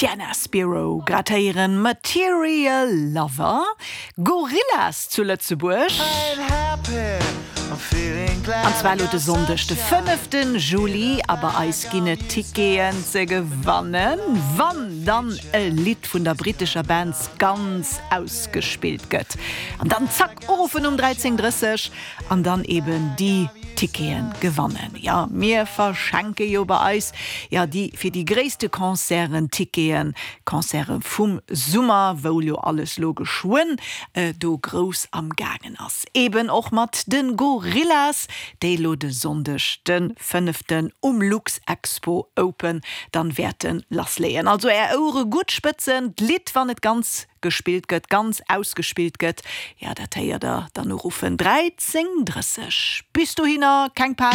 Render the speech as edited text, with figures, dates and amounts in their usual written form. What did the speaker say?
Sienna Spiro grad héieren, Material Lover, Gorillaz zu Lëtzebuerg. An zwar elo de Sonndeg, de fënnefte Juli. A bei eis ginn et Ticketen ze gewannen, wann dann e Lidd vun der brittescher Band ganz ausgespillt gëtt. An dann zack, uruffen um 13:30 an dann eben déi Ticketen gewannen. Jo, mir verschenke jo bei eis jo déi fir déi gréisste Concerten Ticketen, Concerte vum Summer, wou jo alles lo geschwënn do grouss am gaangen ass. Eben och mat de Gorillaz, déi lo de Sonndeg de fënneften um Luxexpo Open dann wäerte lassleeën. Also är Ouere gutt spëtzen, d'Lidd wann et ganz gespillt gëtt, ganz ausgespillt gëtt, jo dat héiert der dann uruffen 13 30. Bis dohinner keng Panik.